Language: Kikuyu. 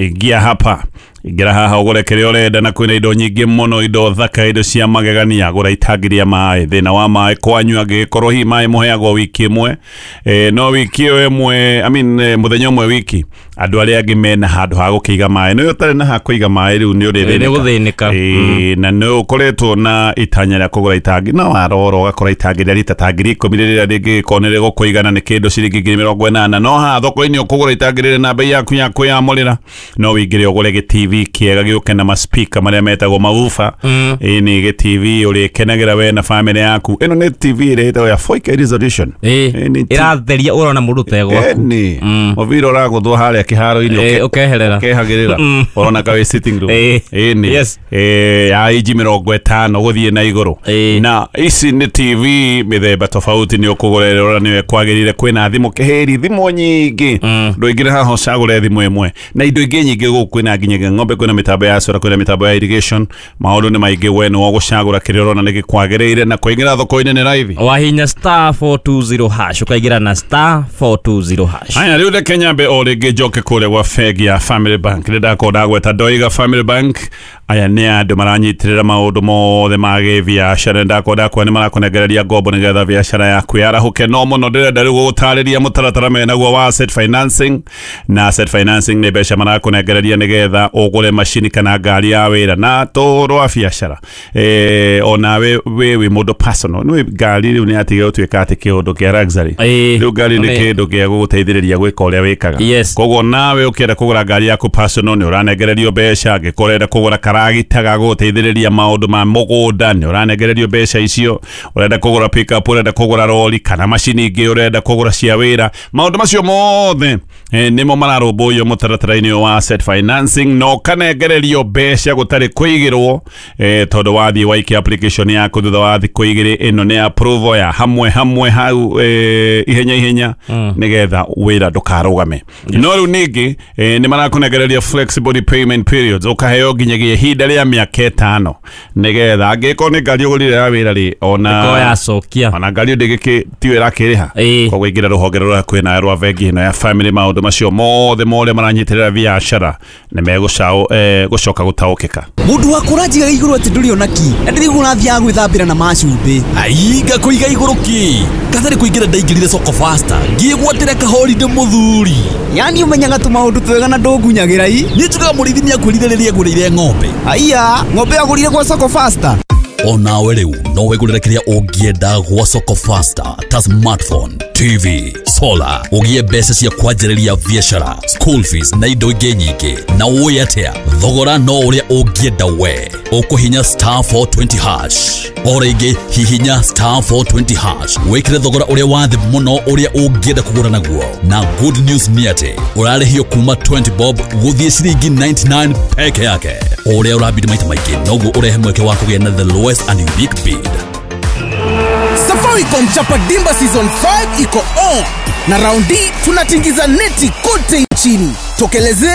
Ingia hapa, ingĩra haha ũgũre kĩrĩa ũrenda, na kwĩna indo nyingĩ mũno, indo thaka, indo cia magegania. Gũra itangi rĩa maĩ, thĩna wa maĩ kwanyu angĩgĩkorwo hihi maĩ mũheagwo wiki ĩmwe, no wiki ĩyo ĩmwe, I mean, mũthenya ũmwe wiki, andũ arĩa angĩ mena handũ ha gũkĩiga maĩ, no ũtarĩ na ha kũiga maĩ rĩu nĩ ũrĩthĩnĩka. Na nĩ ũkoretwo na itanya rĩa kũgũra itangi, no warora ũgakora itangi rĩa rita ta 10,000 rĩrĩa rĩngĩgĩkorwo nĩ rĩgũkũigana nĩ kĩndũ ciringi 80,000, no haha thoko-inĩ ũkũgũra itangi rĩrĩ na bei yaku ya kwĩyamũrĩra. No wĩingĩre ũgũre gĩ TV kĩega gĩũke na maspika marĩa metagwo maufa. Ĩ nĩ gĩ TV ũrĩkenagĩra we na family yaku. Ĩno nĩ TV ĩrĩa ĩtagwo ya 4K resolution. Ĩratheria ũrona mũndũ tegwaku. Mũbira ũragũthwo harĩa kĩharo-inĩ ũkeherera, ũkehagĩrĩra, ũrona ka wĩ sitting room. Ĩ nĩ ya inji 50 gũthiĩ na igũrũ. Na ici nĩ TV mĩthemba tofauti, nĩ ũkũgũra ĩrĩa ũrona nĩyo ĩkwagĩrĩire. Kwĩna thimũ kĩhĩri, thimũ nyingĩ, ndũingĩre haha ũcagũre thimũ ĩmwe, na indo ingĩ nyingĩ gũkũ. Kwĩna nginya ng'ombe, kwĩna mĩtambo ya solar, kwĩna mĩtambo ya irrigation. Maũndũ nĩ maingĩ, we nĩ ũgũcagũra kĩrĩa ũrona nĩ gĩkwagĩrĩire, na kũingĩra thoko-inĩ nĩ raithi. Wahinya *420# ũkaingĩra na *420#. Haya, rĩu reke nyambe o rĩngĩ njoke kũrĩa gwa bengi ya Family Bank. Nĩ ndakorwo ndagweta ndoiga Family Bank aya nĩ andũ maranyitĩrĩra maũndũ mothe ma gĩbiacara. Ndakorwo ndakuona nĩ marakũnengereria ngombo nĩgetha biacara yaku yarahũke. No mũno ndĩrenda rĩu gũgũtarĩria mũtaratara menaguo wa asset financing. Na asset financing nĩ mbeca marakũnengereria nĩgetha ũgũre macini kana ngari ya wĩra na tũrwa biacara. Onawe wĩ mũndũ personal, nĩ ngari rĩu nĩ yatigire gũtuĩka atĩ kĩũndũ kĩa luxury. Rĩu ngari nĩ kĩndũ gĩa gũgũteithĩrĩria gwĩka ũrĩa wĩkaga. Koguo nawe ũkĩenda kũgũra ngari yaku personal nĩ ũranengererio mbeca. Angĩkorwo ũrenda kũgũra karagita ga gũgũteithĩrĩria maũndũ ma mũgũnda nĩ ũranengererio mbeca icio. Ũrenda kũgũra pickup, ũrenda kũgũra rori kana macini ingĩ ũrenda kũgũra cia wĩra, maũndũ macio mothe nĩmo mararũmbũiyo mũtaratara-inĩ wa asset financing, na ũkanengererio mbeca gũtarĩ kũigĩrwo, tondũ wathiĩ waikia application yaku thutha wa thikũ igĩrĩ, ĩno nĩ approval ya hamwe hamwe hau, ihenya ihenya, nĩgetha wĩra ndũkarũgame. No rĩu ningĩ nĩ marakũnengereria flexible repayment periods, ũkaheo nginyagia ihinda rĩa mĩaka 5, nĩgetha angĩkorwo nĩ ngari ũgũrire ya wĩra rĩ, ona yacokia, ona ngari ndĩgĩkĩ tiyo ĩrakĩrĩha. Koguo ingĩra rũhonge rũrĩa hakuhĩ nawe rwa bengi ĩno ya Family, maũndũ macio mothe morĩa maranyitĩrĩra biacara nĩ megũcoka gũtaũkĩka. Mũndũ waku ũranjigaga igũrũ atĩ ndũrĩ ona ki, na ndĩraigua ũrathiaga gwĩthambĩra na macumbĩ. Ainga kũiga igũrũ ki katarĩ kũingĩra ndaingĩrire Soko Faster ngĩgwatĩra kahorinde mũthuri. Yani ũmenyaga tũmaũndũ twega na ndũngunyagĩra i. Niĩ njugaga mũrĩithi nĩakwĩrire rĩrĩa agũrĩire ng'ombe. Aiya, ng'ombe agũrire gwa Soko Faster. Onawe rĩu no wĩgũrĩre kĩrĩa ũngĩenda gwa Soko Faster ta smartphone, TV, solar, ũgĩe mbeca cia kwanjĩrĩria biacara, school fees na indo ingĩ nyingĩ. Na ũĩ atĩa, thogora no ũrĩa ũngĩenda we. Ũkũhinya *420#. O rĩngĩ hihinya *420# wĩkĩre thogora ũrĩa wa thĩ mũno ũrĩa ũngĩenda kũgũra naguo. Na good news nĩ atĩ ũrarĩhio kuma 20 bob gũthiĩ ciringi 99 peke yake. Ũrĩa ũrabidi maita maingĩ noguo ũrehe mweke wa kũgĩa na the lowest and unique bid. Safaricom Chapa Dimba Season 5 iko on, na raundi tunatingiza neti kote nchini. Tokelezea.